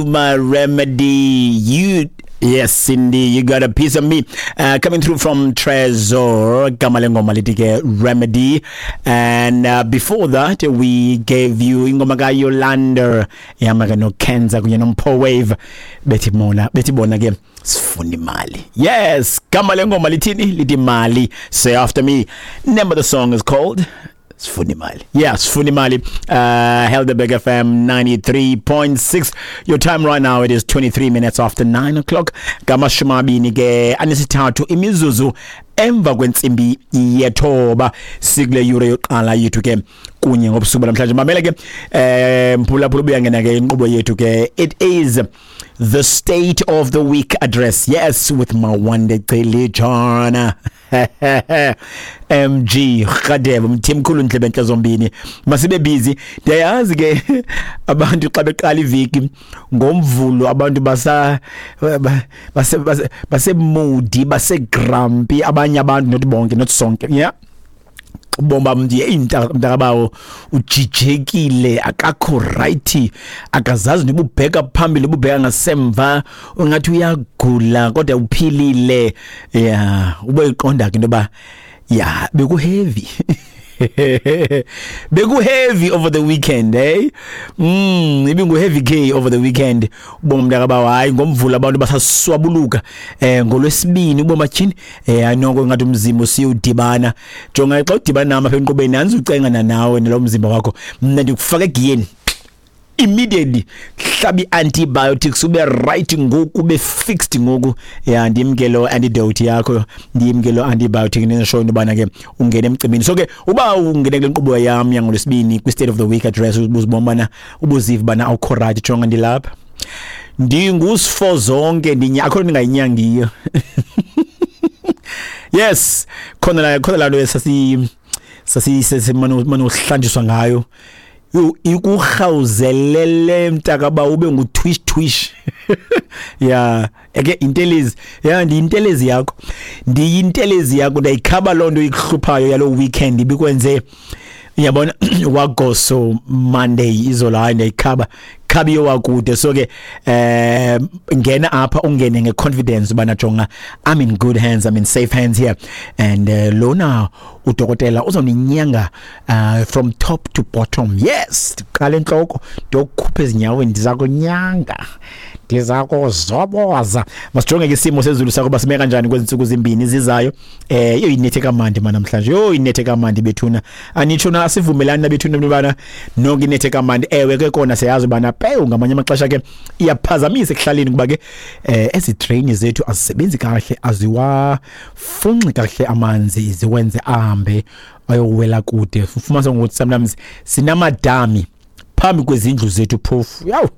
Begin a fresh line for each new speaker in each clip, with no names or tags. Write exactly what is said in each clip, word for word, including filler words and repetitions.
My remedy, you. Yes, Cindy, you got a piece of me. Uh, coming through from Trezor, igama lengoma lithi ke Remedy. And uh, before that, we gave you ingoma kaYolanda, ihamba ke noKenza kunye noMpo Wave. Bethi mona, bethi bona ke sifuna imali. Yes, gama lengoma lithini? Lithi Mali. Say after me. Name of the song is called Sifuna imali. Yeah, sifuna imali. Uh Helderberg F M ninety-three point six. Your time right now, it is twenty-three minutes after nine o'clock. Ngamashumi amabini ke anesithathu imizuzu emva kwentsimbi yethoba, sikule yure yokuqala yethu ke kunye ngobusuku namhlanje. Mamela ke, eh mphulaphula, ubuyangena ke inkqubo yethu ke. It is the State of the Week Address. Yes, with Mawande Celijana. M G Radebe, Mthimkhulu Ndlebe zombini. Masibe busy. Ndiyayazi ke abantu xa beqala iviki ngomvulo, abantu basa base base moody, base grumpy, abanye abantu, not bonke, not sonke. Yeah. Bomba mntu mntakabawo ujijekile, akakho right, akazazi nobubheka phambili ububheka ngasemva, ungathi uyagula kodwa uphilile. Yeah, uboyiqonda ke into ba yeah, beku heavy. Beku heavy over the weekend, eh? Mm, ibingu heavy K over the weekend. Ubonga mntakabawo, hayi ngomvula abantu basaswabuluka eh ngolwesibini uboma tyhini, eh ayinoko ngathi umzimba usiyudibana. Jonga xa udibana nami apha enkqubeni, nanzi ucengana nawe nalo mzimba wakho. Mna ndikufaka egiyeni immediately, hlabi antibiotics ube right ngoku, ube fixed ngoku. Yeah, ndimke lo antidote yakho, ndimke lo antibiotic ngisho into bana ke ungene emcimbini. So ke uba ungene kule nkqubo yam yangolwesibini kwi State of the Week Address, ubuzibona bana ubuziva bana awukho right, jonga ndilapha, ndingusifo zonke, ndinya akho ndingayinyangiyo. Yes, khona la, khona la nto sasi sasi semano ngayo. Yo, ikurhawuzelele mntakaba ube ngu twish twish. Yeah, eke intelezi. Yeah, ndiyintelezi yakho. Ndiyintelezi yakho, ndayikhaba loo nto ikuhluphayo yalo weekend ibikwenze, uyabona, wagoso Monday izolo, hayi ndayikhaba khabiyo wakude. So ke eh ngena apha ungene ngeconfidence ubana jonga, I'm in good hands, I'm in safe hands here. And uh, lona udokotela uzoninyanga uh, from top to bottom. Yes, qala enhloko ndokukhupha ezinyaweni, ndizakunyanga, ndizakuzoboza. Masijonge ke isimo sezulu sakho basime kanjani kwezi ntsuku zimbini zizayo. Eh yo inethe kamandi mana namhlanje, yo inethe kamandi bethuna, anitsho na asivumelani nabethuna bana nonke inethe kamandi. Ewe ke kona siyazi bana pewu ngamanye amaxesha ke iyaphazamisa ekuhlaleni kuba ke eh ezi drain zethu azisebenzi kahle, aziwafunxi kahle amanzi ziwenze ahambe ayowela kude. Ufumanisa ngokuthi sometimes sinamadami phambi kwezindlu zethu phofu. Yawu,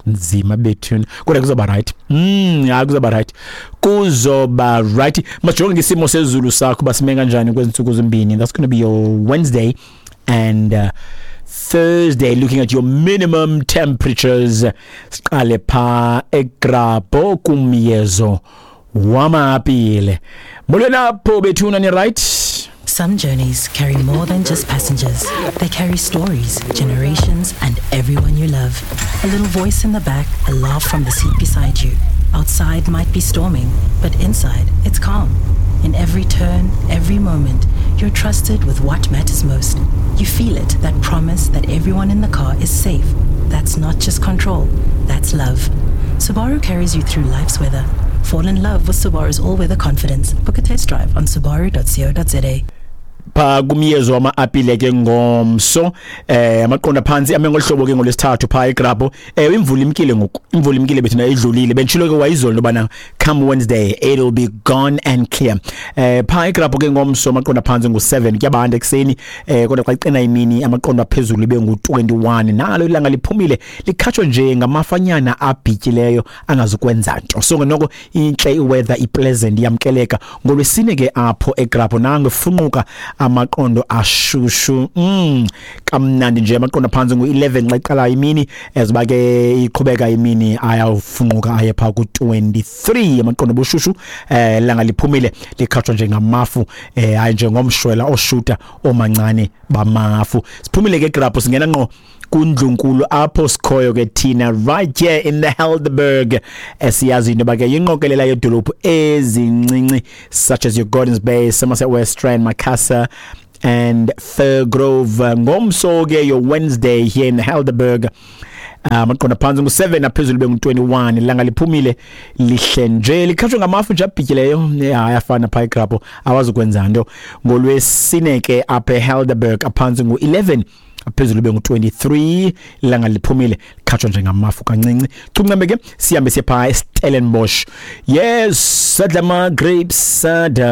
nzima bethuna, kodwa kuzoba right. Mm, hayi kuzoba right, kuzoba right. Majonge ngesimo sezulu sakho basime kanjani kwezi ntsuku zimbini. That's going to be your Wednesday and uh, Thursday, looking at your minimum temperatures. Siqale pha eGrabho kumyezo wamapile. Molweni apho bethuna, ni right?
Some journeys carry more than just passengers. They carry stories, generations, and everyone you love. A little voice in the back, a laugh from the seat beside you. Outside might be storming, but inside it's calm. In every turn, every moment, you're trusted with what matters most. You feel it, that promise that everyone in the car is safe. That's not just control, that's love. Subaru carries you through life's weather. Fall in love with Subaru's all-weather confidence. Book a test drive on subaru dot co dot za.
Pha kumyezo wama-apile ke ngomso, eh amaqonda phansi ame ngolhlobo ke ngolwesithathu pha eGrabho. Eh imvula imkile ngoku, imvula imkile bethina idlulile, bentshilo ke wayizolo bana come Wednesday it'll be gone and clear. Eh pha eGrabho ke ngomso amaqonda phansi ngu seven kuyabanda ekseni, eh kodwa xa iqina imini amaqonda phezulu ibe ngu twenty-one. Nalo ilanga liphumile likhatshwa nje ngamafanyana abhityileyo angazukwenza nto. So noko inhle iweather, ipleasant, iyamkeleka. Ngolwesine ke apho eGrabho nange funquka amaqondo ashushu, mm kamnandi nje, amaqondo phansi ngu eleven xa iqala imini, ezoba ke iqhubeka imini ayafunquka aye pha ku twenty-three amaqondo bushushu. Eh langa liphumile likhatshwa nje ngamafu, eh hayi njengomshwela oshuta omancane bamafu. Siphumile ke eGrabho singena ngqo Kundlunkulu apho sikhoyo ke thina, right here in the Helderberg, esiyazi into yoba ke yinqokelela yedolophu ezincinci such as your Gordons Bay, Somerset West Rand, Macassar and Firgrove. Ngomso ke, your Wednesday here in the Helderberg, amaqonda phantsi ngu-seven, aphezulu bengu-twenty-one. Ilanga liphumile, lihle nje, likhatshwe ngamafu nje abhityileyo. Ayafana phaa igrapho, awazukwenza nto. Ngolwesine ke apha eHelderberg, aphantsi ngu-eleven, aphezulu bengu-twenty-three. Ilanga liphumile, likhatshwa nje ngamafu kancinci. Chuncambe ke sihambe siye phaa eStellenbosch. Yes, sadla ama-grapes, sada.